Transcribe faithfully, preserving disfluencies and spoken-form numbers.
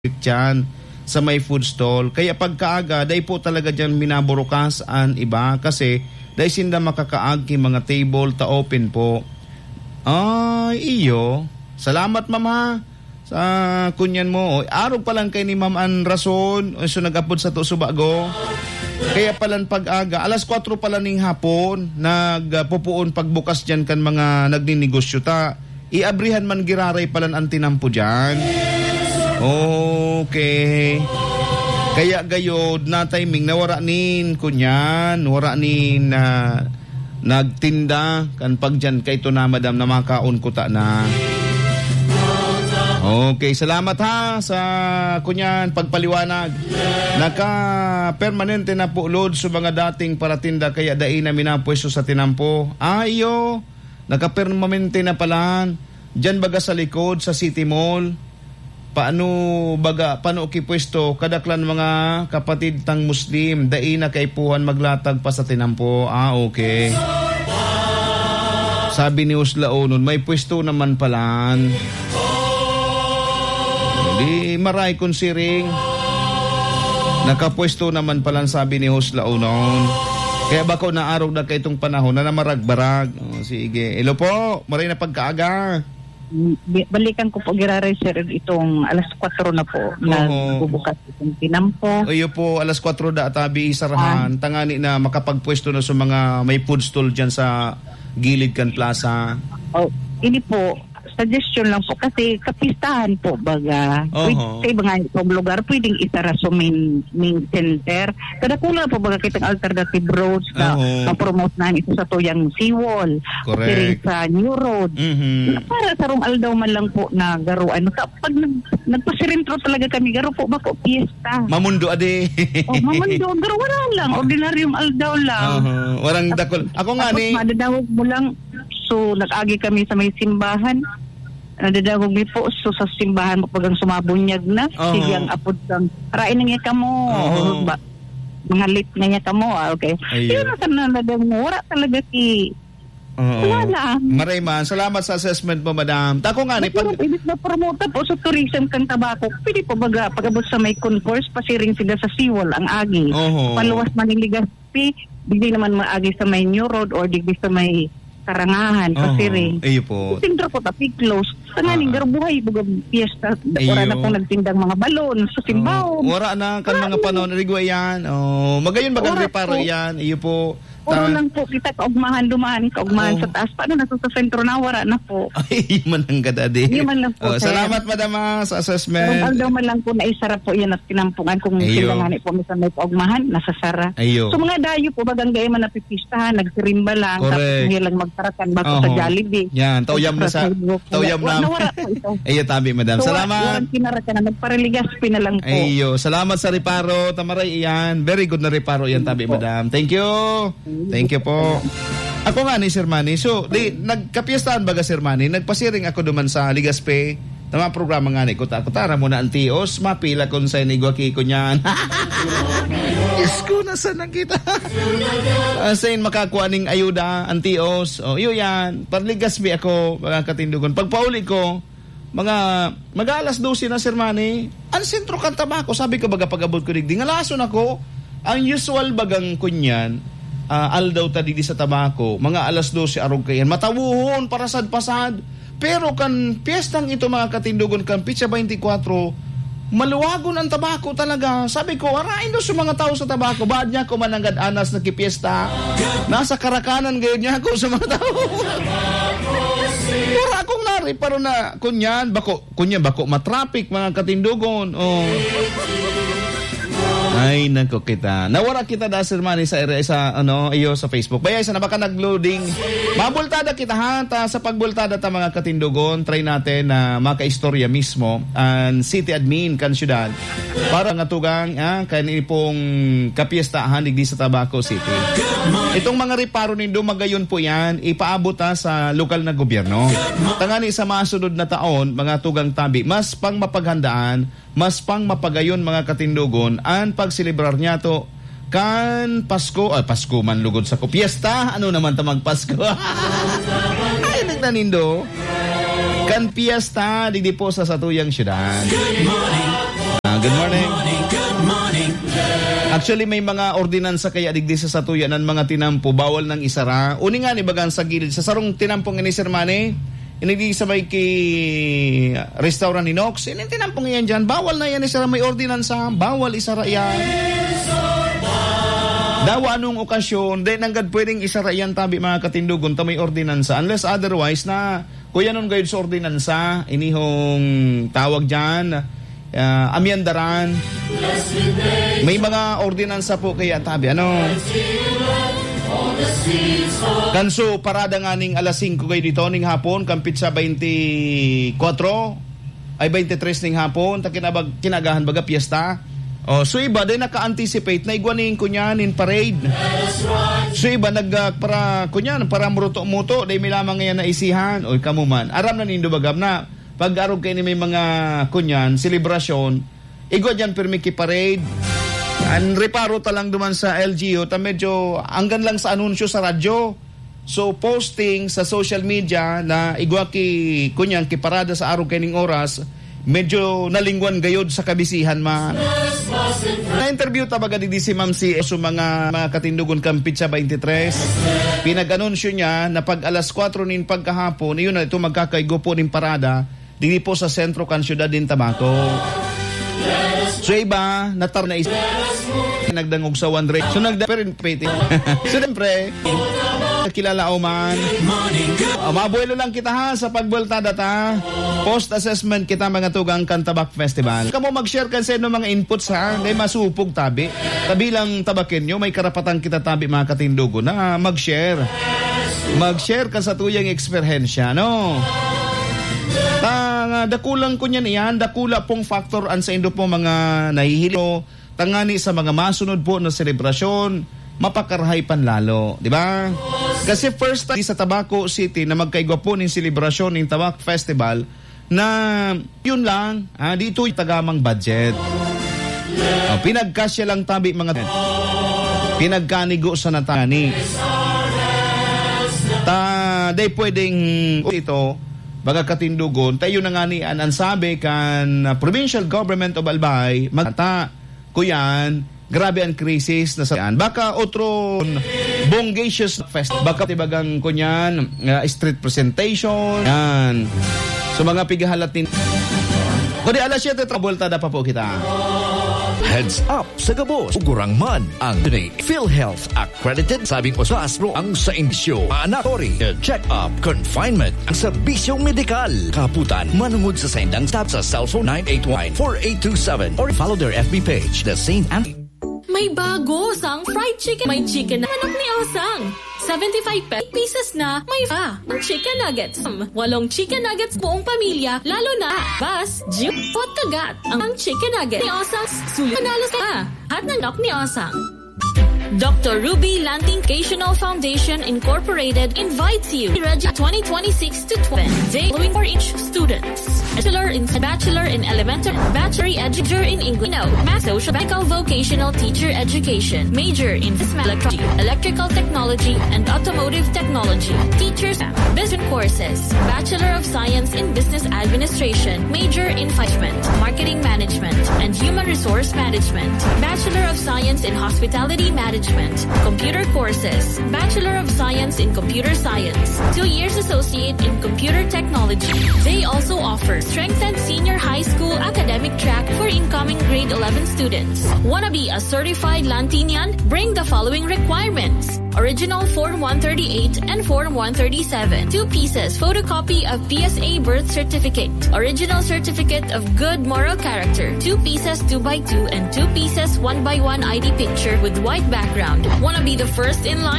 diyan sa may food stall. Kaya pagkaaga, dai po talaga diyan minaburukas an iba kasi dai sinda makakaag ki mga table ta open po. Ay, iyo. Salamat, ma'am, ha, sa kunyan mo. O, arog pa lang kay ni ma'am an rason. O, so nag-apod sa to, subago. Kaya palan pag-aga, alas kwatro pala ning hapon, nagpupuon pagbukas diyan kan mga nagninegosyo ta. Iabrihan man giraray palan an tinampo diyan. Okay. Kaya gayod na timing na wara nin kunyan, wara nin, ah, nagtinda kan pagdiyan kay ito na, madam, na makaon kuta na. Okay, salamat ha sa kunyan pagpaliwanag. Naka-permanente na po load sa mga dating paratinda kaya dai na minapwesto sa tinampo. Ah, iyo. Naka-permanente na palan. Diyan baga sa likod, sa City Mall. Paano baga, paano kipwesto? Kadaklan mga kapatid tang Muslim, dai na kaipuhan maglatag pa sa tinampo. Ah, okay. Sabi ni Uslaonon, may pwesto naman palan. Di maray kun siring. Nakapwesto naman palan, sabi ni Uslaonon. Kaya bako naarog na kay itong panahon na namaragbarag. Oh, sige. Hello po, maray na pagkaaga. Mm, bi-, balikan ko po giraray, sir, itong alas kwatro na po, Oho. nagbubukas itong tinampo. Iyo po, alas kwatro da tabi isarahan, Ah. tangani na makapagpwesto na sa mga may food stall dyan sa gilid kan plaza. Oh, ini po, suggestion lang po, kasi kapistahan po, baga, Oho. pwede, sa iba nga pong lugar, pwedeng isara sa main, main center. Kadakula po, baga, kitang alternative roads na Oho. ma-promote na ito sa tuyang seawall. Correct. Siring sa New Road. Mhm. Para sa rong aldaw man lang po na garuan. Sa, pag nag-, nagpasirentro talaga kami, garo po ba po, piyesta? Mamundo, ade. Oh, mamundo. Garo, wala lang. Ordinaryong aldaw lang. Aha. Warang dakul. Ako nga Tapos ni madadawog mo lang. So, nag-agi kami sa may simbahan. Nadadawog mi po. So, sa simbahan mo, pag ang sumabunyag na, Oho. sige ang apod kang, "Rain na niya kamo." Oho. O ba, "Mangalit na niya kamo." Ah, okay. Ayun. Yun ang sananadang mo. Wala talaga si Oo. Wala lang. Maray man. Salamat sa assessment mo, madam. Tako nga ni Mas pag- meron, ibig na promote po sa tourism kan Tabaco. Pwede po baga pag-abot sa may concourse, pasiring sila sa seawall, ang agi. Oho. Paluwas man yung Legazpi, digdi naman maagi sa may New Road or digdi sa may Karangahan, Oho. pasiring. Iyo po. Sentro po, tapi close. Tanganing Ah. garbuhay, baga piyesta. Wala na Iyo. pong nagtindang mga balon sa Simbaw. Oh, wala na kan mga Wala na. panahon, rigwa yan. Oh, magayon bagang Wala reparo po. yan. Iyo po. Puro Ta- lang po kita kaugmahan duman, kaugmahan Oh. sa taas. Paano na sa sentro na? Wala na po. Ay, mananggad, adi. Yun man lang po, Oh, sir. salamat, madam, ah, sa assessment. Kung aldaw man lang po na isara po yan at kinampungan kung Ayo. sila nga ni po minsan may kaugmahan, nasasara. Ayo. So, mga dayo po, bagang gaya man napipistahan, nagsirimba lang, Correct. tapos hindi lang magtarakan bako sa Oho. Jollibee. Yan, tauyam na sa, Sa Facebook. tauyam Wa-, na. nawara po ito. Ayo, tabi, madam. So, wa-, Salamat. walang kinarakan na, nagpareligas, pinalang po. Ayo, salamat sa reparo, Tamaray, iyan. Very good na reparo yan, tabi, Opo. madam. Thank you. Thank you po. Ako nga ni Sir Manny. So, di, nagkapiestahan baga, Sir Manny? Nagpasiring ako duman sa Legazpi. Tama, programa nga ni Kuta. Kutara mo na ang tios. Mapila kung sa inigwa kiko niyan. Diyos ko, nasaan na kita? Ah, saan makakuha ning ayuda, ang tios? O, iyo yan. Pag Legazpi ako, mga katindugon. Pagpauli ko, mga, mag-aalas dose na, Sir Manny. Ang sentro kan Tabaco, sabi ko, baga pag-abot ko digdi, ngalason ako. Ang usual bagang kunyan, ah, aldaw ta digdi sa Tabaco, mga alas dose arog kayan. Matawuhon, parasad-pasad. Pero kan piyestang ito, mga katindugon, kan Petsa twenty-four, maluwagon ang Tabaco talaga. Sabi ko, "Arain do sa mga tao sa Tabaco, baad niya ako mananggad anas nagkipiyesta?" Nasa karakanan gayon niya ako sa mga tao. Wala akong nariparo na, kunyan, bako, kunyan, bako matraffic, mga katindugon. Oh. Ay, nako kita. Nawara kita da, Sir Manny, sa area, sa, ano, iyo, sa Facebook. Baya, isa na baka nag-loading. Mabultada kita, ha? Ta, sa pagbultada ta, mga katindugon, try natin na makaistorya mismo ang city admin kan syudad para nga tugang, ah, kan ipong kapiestahan digdi sa Tabaco City. Itong mga reparo nindo, magayon po yan, ipaabot, ah, sa lokal na gobyerno. Tangani sa masunod na taon, mga tugang tabi, mas pang mapaghandaan, mas pang mapagayon, mga katindogon, an pagselebrar niyato kan Pasko, ay, Pasko man lugod sa ko, piyesta, ano naman ta magpasko? Ay, nagtanindo. Kan piyesta, digdi po sa satuyang syudad. Good morning. Good morning. Good morning, good morning. Actually, may mga ordinansa kaya digdi sa satuya nan mga tinampo, bawal nang isara. Uni nga ni bagan sa gilid, sa sarong tinampo nga ni Sir Manny, ini di sa may ki restaurant ni Nox, ini tinampo nga yan dyan, bawal na yan isara, may ordinansa, bawal isara yan. Dawa anong okasyon, di nanggad pwedeng isara yan tabi mga katindogon, ta may ordinansa. Unless otherwise na kuyanon gayud sa ordinansa, inihong tawag dyan, ah, amyandaran. May mga ordinansa po kaya tabi, ano? Kanso, parada nga ning alas singko gayud ito ning hapon, kan petsa twenty-four, ay twenty-three ning hapon, ta kinabag-, kinagahan baga piyesta. Oh, so iba, day naka-anticipate na igwa ning kunyan, nin parade. So iba, nag, ah, para, kunyan, para muruto-muto, day may lamang ngayon na isihan. Oy, kamo man. Aram na nindo bagam na, pag arog kayo ni may mga, kunyan, selebrasyon, igwa dyan, pirmi ki parade. Ang reparo ta lang duman sa L G U, ta medyo, anggan lang sa anunsyo sa radyo. So, posting sa social media na igwa ki, kunyang kiparada sa arog kaining oras, medyo nalingwan gayod sa kabisihan man. Na-interview ta baga digdi si Ma'am C S, so mga, mga katindogon kan petsa twenty-three, pinag-anunsyo niya na pag alas kwatro nin pagkahapon, iyon na ito magkakaigo po nin parada, digdi po sa sentro kan siyudad nin Tabaco. So, iba, natar na is-, nagdangog sa one rate. So, nagda-, pero in-, pwede. So, siyempre, kilala o man. O, mabuelo lang kita ha, sa pagbuelta data. Post assessment kita, mga tugang kan Tabak Festival. Kamo mag-share kan sa inyo mga inputs ha, dahil masupog tabi. Tabi lang Tabakenyo, may karapatan kita tabi, mga katindogon, na mag-share. Mag-share ka sa tuyang eksperyensya, no? Ta, nga, dakulang kunyan iyan, dakula pong factor an saindo po mga nahihilo, tangani sa mga masunod po na selebrasyon, mapakarahay pan lalo, di ba? Kasi first time sa Tabaco City na magkaigwa po ning selebrasyon ning Tabak Festival, na yun lang, ah, di ito tagamang budget. Oh, pinagkasya lang tabi mga pinagkanigo sa natani. Ta, day pwedeng ito, baga katindogon. Ta yun na nga ni an, an sabi kan, ah, Provincial Government of Albay, magta, kuyan, grabe ang krisis na sa, baka otro bongacious fest. Baka tibagang kunyan, ah, street presentation. Yan. So, mga pigahalat nin-, kundi alas siyete, trabuelta na pa po kita. Heads up sa gabos. Ugurang man ang PhilHealth accredited sabing osasro ang sa indisyo. Anak, tori, check-up, confinement, ang serbisyong medikal. Kaputan, manungod sa sendang stop sa cellphone nine eight one, four eight two seven or follow their F B page, The Saint Anthony. May bago sang fried chicken. May chicken na manok ni Osang. Seventy-five pe-, pieces na. May pa. Ang chicken nuggets. Walong chicken nuggets buong pamilya. Lalo na. Bas, juice, pot kagat. Ang, ang chicken nugget ni Osang. Sulit. Manalo ka. Hat ng lock ni Osang. Doctor Ruby Lanting Educational Foundation Incorporated invites you to register twenty twenty-six to twenty. Day following for each student. Bachelor in, Bachelor in Elementary, Bachelor Education in English, no, Math Social Medical Vocational Teacher Education, major in Business Electro-, Electrical Technology and Automotive Technology, Teachers, Business Courses, Bachelor of Science in Business Administration, major in Management, Marketing Management, and Human Resource Management, Bachelor of Science in Hospitality Management, Computer Courses, Bachelor of Science in Computer Science, two years Associate in Computer Technology. They also offer strengthened senior high school academic track for incoming grade eleven students. Wanna be a certified Lantinian? Bring the following requirements: original Form one thirty-eight and Form one thirty-seven, two pieces photocopy of P S A birth certificate, original certificate of good moral character, two pieces two by two and two pieces one by one I D picture with white background. Wanna be the first in line?